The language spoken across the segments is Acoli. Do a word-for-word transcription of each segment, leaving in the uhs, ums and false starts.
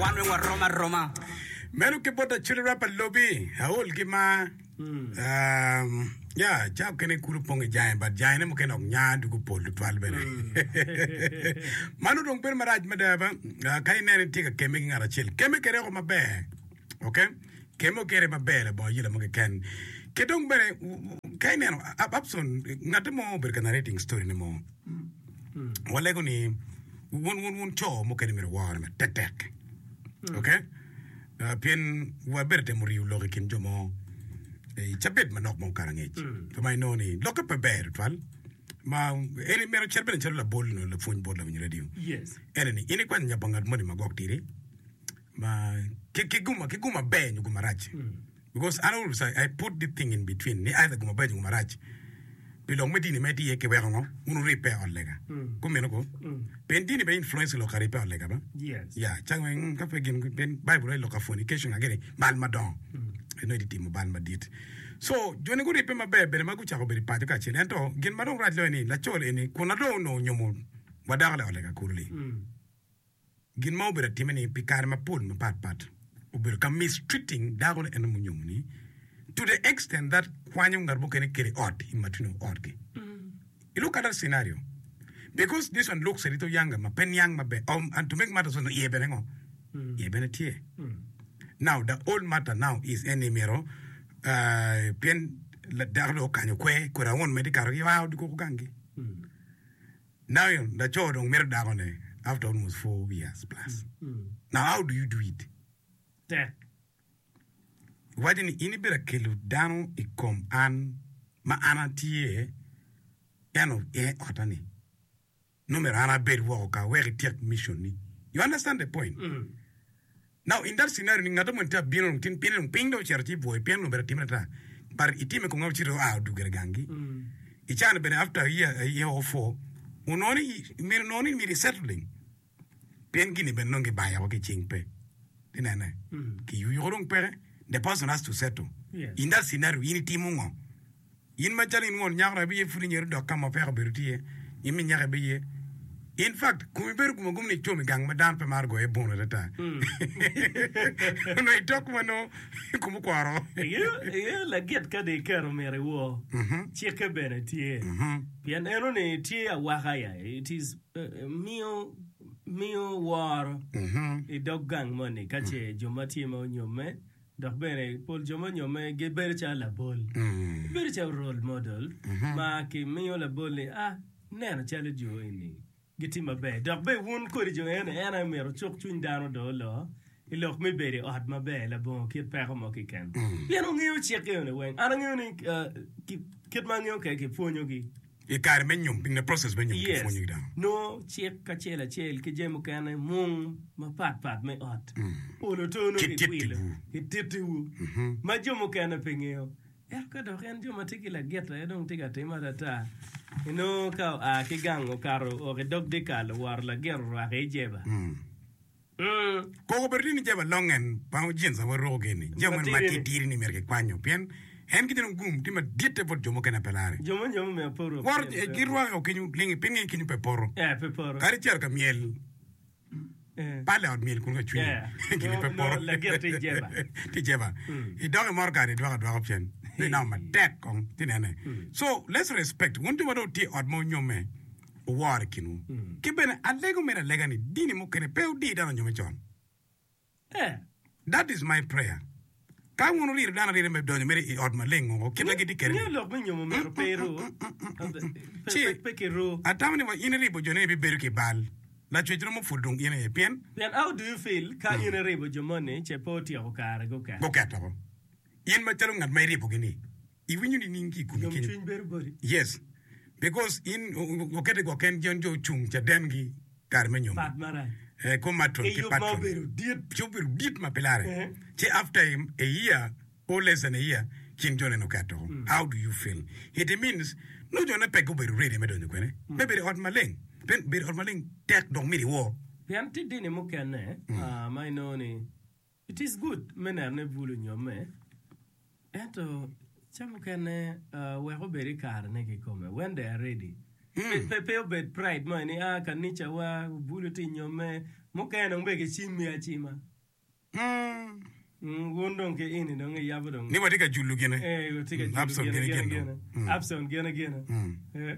Wan weng warom aroma. Meno ki bot Acholi Rapper Lobi, aol ki mar. Um, ya, ca okene kulu pong i jange, but jangene mukene ok nya dugo pol tutwal bene. Mano dong bedo marac mada ba. Ah, ka ineno itye ka kemme ki ngat acel, kemme kede oko maber. Okay? Kemme kede maber labongo ayela mo keken. Ki dong bene, ka ineno, Ab- Abson, ngate mo obedo ka narrating story ne mo. Walego ni wun wun wun co mukene myero wore matek tek. Okay? Uh, pien wabedo temo riyo lok i kin jo mo i cabit manok ma okato angec. So ma inongo ni lokke pe ber tutwal. Ma en myero ocit bene calo labol nyo lapwony bot lawiny radio. Yes. Ene ni in ikwanyo nya pa ngat moni ma gwok tidi ma ki ki guma ki guma ber nyo guma rac. Because an always I, I put the thing in between ni either guma ber nyo guma rac. Pi lok me dini ma itye iye kiweko ngo wun wuribbe i ot lega. Kumeno ko. Pien dini be influence lok aribbe i ot lega ba. Yes. Ya, cang mm, ka pe gin pien Bible aye lok ka fornication ageni bal madongo. Eno iti timo bal madit. So joni guribbe maber bene ma gucako bedo i paco kacel. Ento gin ma dong rac loyo ni laco eni kun na dong onongo onyomo wa dako le ot lega kulu-li. Gin ma obedo atime ni pi kare mapol mapat pat obedo ka mistreating dako ne eno munyomo ni to the extent that kwanyo ngat mukene kede ot i matino otgi. You look at that scenario because this one looks a little younger ma pe niang maber um, and to make matters worse iye bene ngo iye bene tye. Now the old matter now is en ni myero uh, pien dako dong okanyo kwe kwede awon medi kato ki wow dukoko gangi. Now laco dong mito dako ne after almost four years plus. Now how do you do it? Tek. Iwaco ni in ibedo akelo dano i kom an ma an atye eno i otta ni. No myero an abed woko ka wek ityek mission ni. You understand the point? Now in that scenario ni ngat mo tye abino dong tin piny dong piny dong ocito ci bwoyo pien dong obedo atime ata but itime kong ocito oa odugere gangi. I cani bene after a year, a year or four onongo ni myero onongo ni myero i settling pien gini bene nongo gibayo woko ki cing pe tinene kiyuyuko dong peke the person has to settle. Yes. In that scenario in itimo ngo? In macalo in won nyako dok ibiye pud inyero dok ka ma peko obedo tye, in mi nyako ibiye. In fact, komi bedo gum agum ni icom i gang ma dano pe maro goye bono atata. Onongo itok ma nongo kom okworo. Ingeyo lagit ka dong iketo myero iwor, cikke bene tye. Pien enoni tye awaka ya, it is miyo miyo woro i dog gang moni ka ce jo ma tye ma onyomme Dok bene pol jo ma onyomme gibedo calo labol. Gibedo calo role model ma kimiyo labol ni, ah, ineno calo jo eni gitye maber. Dok bene wun kodi jo eni, en aye myero wucuk cwiny dano dong oloo i lok me bedo i ot maber labongo kit peko mo keken. Pien wungeyo cik eni weng. An angeyo ni kit ma angeyo kwede kipwonyogi. I kare me nyom, in the process me nyom Yes. kipwonyo ki dano. Nongo cik kacel acel ki jami mukene mung mapat pat me ot. Olo to nongo Kitittiwu. kiwilo, kitittiwu ma jo mukene pe ngeyo. Ento ka dok en jo ma tye ki lagit aye dong tye ka time atata, inongo ka oa ki gang okato oo i dog dyekal oworo lagit orwako i jeba. Koko obedo tye ni jami alongen ma jeans ma waruko gini, jami moni Matidi-ni. matitidi-ni myero kikwanyo pien en ki dong gum tye maditte bot jo mukene pe lare. Jo ma nyomo myero pe oruk Woro jeans pe girwako kenyo ling piny ngi kenyo pe poto. Eh, pe poto. Kadi icito ka myel Eh. pale ot myel kun ka cwinyi Yeah. gini pe No, poto. no, lagit tye i jeba. Tye i jeba. Idok i motoka ni idwoko adwoka pien inongo matek kong ci nene. So let's respect wun jo ma dong wutye i ot ma wunyomme. Wuwor i kinwu. Ki bene alego mere alega ni dini mukene pe wudi dano onyomme con. That is my prayer. Ka wun wurito dano arita me donyo mere i ot maleng woko kit ma gitye kwede Ngeyo ni. lok me nyomo myero pe iru, pe, Ci pe, pe kiru. atamo ni wa in iribo jo ni ibibedo ki bal. Lacwec romo pud dong in aye pien. Pien how do you feel ka in iribo jo moni ce pe otyeko kare guket? Guket woko. In macalo ngat ma iribogi ni. Iwinyo nining ki i komi kenyo? Yomcwiny bedo boti. Yes. Because in okete gwok en jon jo ocung caden gi kare me nyomo. Pat marac. Eh, ko matron Ki ki yub ma patron. obedo dit. Ci obedo dit ma pe lare. Eh. Ci after a year or less than a year, kin jone noketo. How do you feel? It means nongo jone pe gubedo ready me donyo kwene. Me bedo i ot maleng. Pien bedo i ot maleng tek dok myero iwor. Pien tye dini mukene ah, ma inongo ni it is good me neno ni bul onyomme. Ento ca mukene wek obed i karene kikome, when they are ready. Pe, pe obed pride mo ni, ah, kanicawa, bulu tye i nyomme, Mukene dong bene gicimmi acima. Mm. Mm, wun dong ki ini dong iyabo dong. Ni watye ka julo gine. Eh, watye ka Mm, julo Abson gine, gine gine, gin gine. dong. Mm. Abson gine gine. Mm. Eh,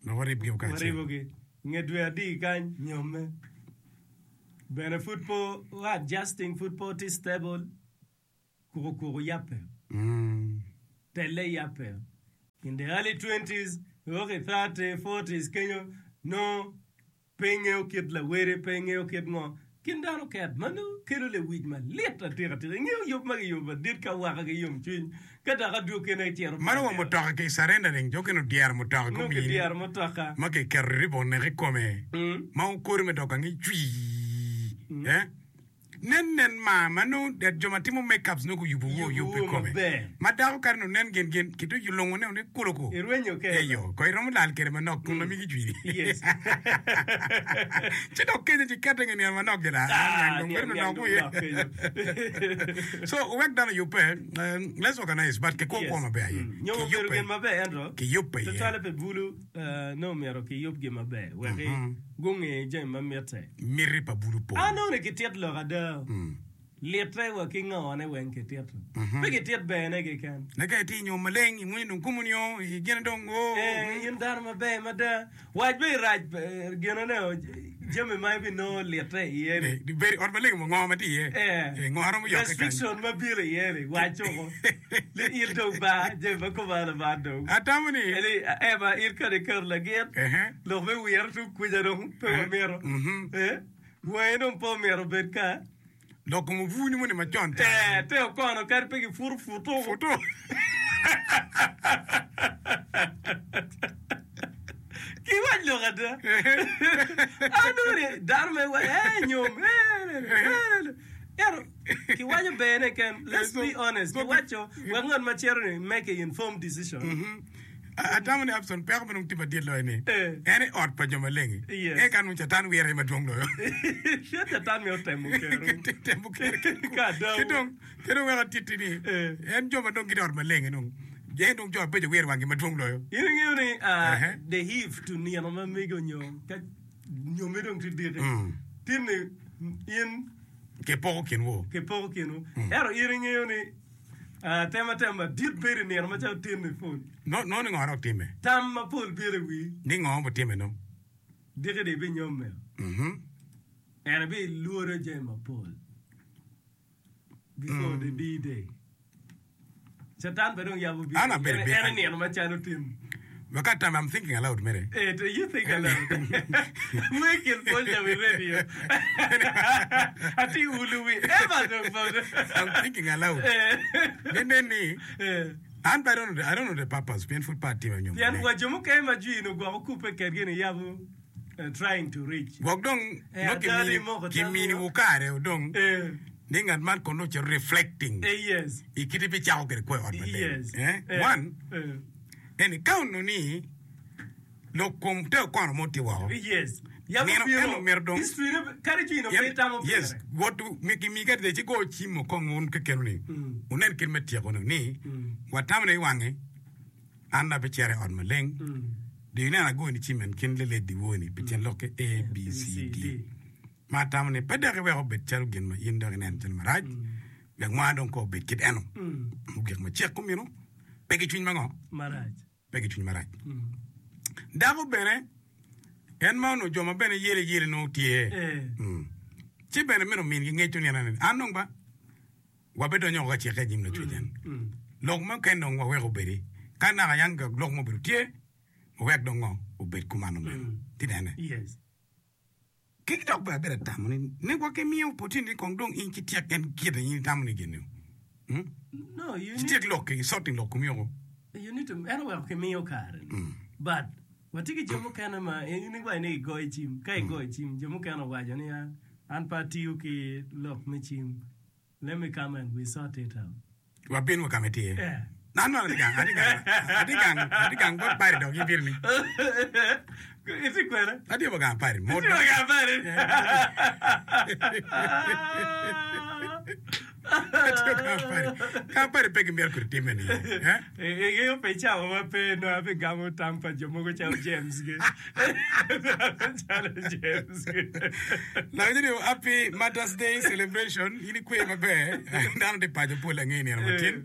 Dong waribgi kacel. waribogi. Nge dwe adi kany nyomme. Bene pud po adjusting pud po tye stable. Kuku kuku yappe. Mm. Telle yappe. In the early twenties, okay, thirty, forties, kenyo, no, pe ingeyo kit lawere, pe ingeyo kit ngo. Kin dano ket, mano kelo lewic malit atika atika. Ingeyo yub ma giyubo madit ka waka ki yomcwiny. Ka dok adwokene cito Mano wa mutoka ki surrendering, jo keno dyero mutoka Nongo gumini. kidyero mutoka. Ma kiketo ribbon i kome. Mm. Ma okori me dok angi cwii. Mm. Eh? Nen nen ma, ma nongo det jo ma timo makeups nongo guyubo wo Yubo yub i wo kome. maber. Ma dako kare no nen gin gin, kito lungo ne one kuluku. Irwenyo kede. Eyo, ko iromo lal kede manok kun ma migi cwiri. Yes. Ci dok kenyo ci kete nge niang manok gina. Ah, Niang dong niang, bedo niang manok dong wiye. nok kenyo. So, wek dano yubbe, um, let's organize, but ki kwo Yes. kwo maber aye. Mm. Nyo Ki obedo yubbe. gin maber ento. Ki yubbe iye. Tutwale pe bulu, eh, nongo myero ki yub gin maber. Wek Mhm. gunge jami ma mitte. Miti pa bulu pol. Anongo ni kitit lok ada. Mm. Litte wa ki ngone weng kitito. Mhm. Pe kitit bene keken. Naka iti nyo maleng, imwonyo dong kumunyo, igene dong, oh. Eh, in dano maber mada. Wac be irac, eh, ginone o, jami ma ibinongo litte iye ni. Eh, di beri ot maleng mo ngo ma tye iye. Eh. Eh, ngo romo yokke kany. Restriction ma biro iye ni, wac oko. Li in dong ba, jami ma kumalo ba dong. Atamo ni. Eli, eh, ma in kadi iketo lagit, Eh. lok me wiro tung kuca dong pe wamito. Mhm. Eh, wangi dong pe omyero obed ka. Lok kom obuni moni macon ca. Eh, te okono kadi pe giputo puto. Puto. Kiwac lok ada. Anongo ni dano me wa, eh, nyom, eh, eh, eh, ero, kiwaco bene ken, let's be honest, kiwaco, wek ngat ma cito ni make a informed decision. Mhm. Atamo ni Abson peko ma dong tye madit loyo ni. Eh. En i ot pa jo maleng. Yes. E kan Catan wire madwong loyo. Pien Catan miyo temo kero. Temo kero. Ka ada. Ki dong, ki dong wek atitti ni, Eh. en jo ma dong gitye i ot maleng dong, en dong jo abeco wire wanggi madwong loyo. In ingeyo ni, uh, Uh-huh. the eve to nino ma mego nyo, ka nyomme dong tye diki. Mm. Tin ni, in Kipoko kinwu. kipoko kinwu. Ento in ingeyo ni, uh, tema tema madit bedo i nino macalo tin ni pol. No, no ni ngo dok time. Tam mapol biro i wii. Ni ngo botime no. Diki di ibinyomme. Mhm. En ibilworo jami mapol. Before the D-Day. Satan be dong yabo biro. An abedo En bi- en i nino macalo tin. Wek atam, I'm thinking aloud mere. Eh, do you think aloud? We can put them in radio. Ati ulu wi. Eva dong pol. I'm thinking aloud. Eh. Ne ne ni, Eh. an pe I don't know the, I don't know the purpose. Pien pud pe atimo nyom Pien maleng. wa jo mukene ma jwi no gwoko kupe kedgi ni yabo eh, trying to reach. Gwok dong, Eh, no adani kimini, moko tam kimini mo. wukare dong, Eh, ni ngat man kono ocito reflecting. eh, yes. I kite pi cako kede kwo i ot maleng. Yes. Eh? Eh, One, eh, eni ka onongo ni lok kom te okono mo tye woko. Yes. Yabo Nino- biro. eno myero dong- History ne kadi jwi no pe tamo Yes, pire. wot mi mi ka ci go cimo kong un kekenu ni. Mm. Unen kit me tyeko ni ni Mm. watamo ni wange an abe cere i ot maleng. Mm. Do ineno agoyo ni cimen kin leled di woni pi tyen lok ke A B C D. Ma atamo ni pe dok iweko obed calo gin ma in dok ineno calo marac. Wek mwa dong ko obed kit eno. Mm. Ogik ma cek kumino pe ki cwiny mango Marac. pe ki cwiny marac. Mm. Dako bene en ma onongo jo ma bene yele yele nongo tye. Eh. Mm. Ci bene meno min gi ngeco ni en an dong ba wabedonyo oko ka cike i nyim lacwec en. Mm. Lok mo keken dong waweko obedi. Ka naka yang ka lok mo obedo tye, wawek dong ngo obed kumano meno. Mm. Ti nene. Yes. Ki dok bene abedo atamo ni ne gwok imiyo opportunity kong dong in kityek en kite in itamo ni gin-ni. Mm? No, you need, Kityek lok ki sorting lok komi oko. you need to en oweko kimiyo kare. Mm. But watye ki jo mukene ma in iwaco ni igoyo cim ka igoyo cim jo mukene owaco ni "Ah, an pe atiyo ki lok me cim let me come and we sort it out. Wabin wa kama itye. Yeah. An no atye gang, atye gang, atye gang, atye gang bot pari dok ibino ni. Itye kwene? Atye wa gang pari. Mot Itye wa gang pari. Atye wa gang pari. Ka pare pe gimyero kodi time ni. Eh? Ingeyo pe cawa ma pe nongo abigamo tam pa jo mogo calo James gi. Calo James gi. Lawinyo ni happy Mother's Day celebration. In ikwe maber. Dano tye paco pol ange nino matin.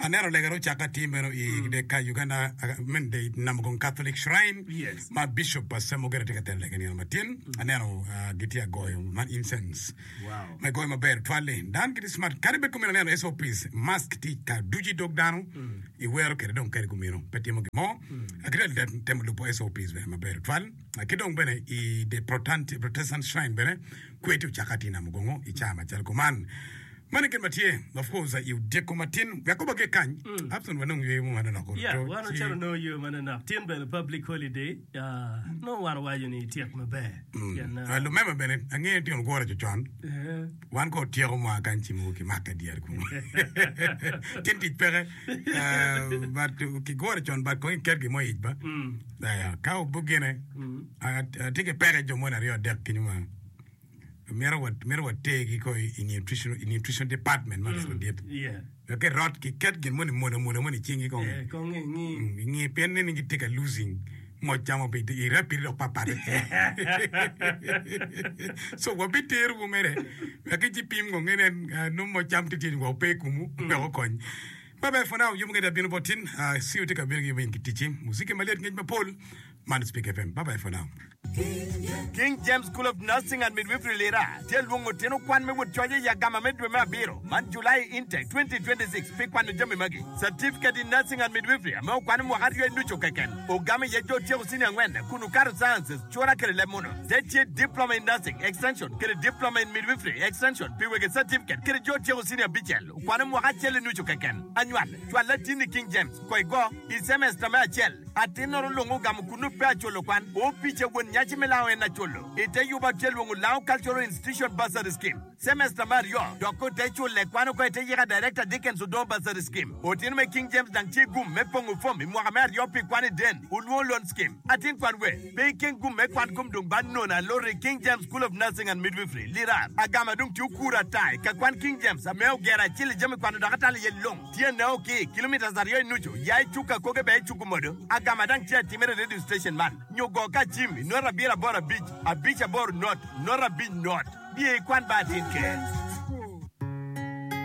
Aneno lega ocaka tye meno i the ka Uganda I mean the Namugong Catholic Shrine Yes. ma Bishop Ssemwogerere tye ka telo lega nino matin. Aneno uh, gitye agoyo man incense. Wow. Ma goyo maber twal-li. Dano gitye smart. Kadi bed kumeno aneno SOPs mask tye ka duci dog dano iwero kede dong kede kumeno pe timo gin mo. Gitye ka temo lubo SOPs bene maber twal. Ki dong bene i the Protestant, Protestant Shrine bene kwe tye ocaka tye i Namugongo i caa macalo kuman. Mano gin ma tye of course i odyeko matin wek ko bage kany Abson wanong yweyo mo manonok Yeah, to wan ci ocalo nongo yo manonok. Tin bene public holiday. Uh, nongo wan owaco ni ityek maber. Pien, uh, uh, lumema bene angeyo tino gure cocon eh, wan ko otyeko mwa kany ci mogo kimake dyere kunu tin tic peke uh, but kigure con but kong iket gimo ic ba mm, uh, ka obugine mm. atye ki peke jo moni aryo adek kenyo ma myero wa myero wategi ko i nutrition i nutrition department ma mm. dit Yeah. wek irot kiket gin moni mono mono moni i cingi kong Eh, kong ingi. Mm, ingi pien ni gitye ka losing moc camo pi i rapid dok papat so wabiterowu mere wek ci pim ngo ngene uh, nongo moc cam tye tye wa pe kumu wek okony Bye bye for now. Yubu ngeda bino botin. Uh, see you take a bino gi kitichi. Muziki maliet ngej mapol. Man Speak FM. Bye bye for now. King James School of Nursing and Midwifery Lira tye lwongo tino kwan me wot coye ya gama me dwe me abiro man July intake twenty twenty-six pi kwano jami magi Certificate in Nursing and Midwifery ame okwano mwaka aryo inucu keken ogamo iye jo tyeko senior angwen kun okato sciences cura kede leb muno te tye Diploma in Nursing Extension kede Diploma in Midwifery Extension pi wege certificate kede jo tyeko senior abicel okwano mwaka acel inucu keken anywal cwal latini King James ko igo i semester me acel atin-noro lungo ogamo kunu pe aculo kwan opice won nyaci me lao en aculo ite yuba tye lwongo Lao Cultural Institution Bursary Scheme semester me aryo dok kote cule kwano ko ite yika Director Dickens Odong Bursary Scheme otino me King James dang tye gum me pongo fom i mwaka me aryo pi kwan i den ulwongo loan scheme atin kwan we pe ikeng gum me kwan kom dong ban nono alori King James School of Nursing and Midwifery Lira agama dong tye okuro atai ka kwan King James ame ogero acel i jami kwano dok atalo iye long tye neo ki kilometers aryo inucu ya icuka koke be icuku modo agama dang tye atimere radio station man nyo go ka cim i not abiro aboro abic abic aboro not not abic not bie kwan ba atin ke.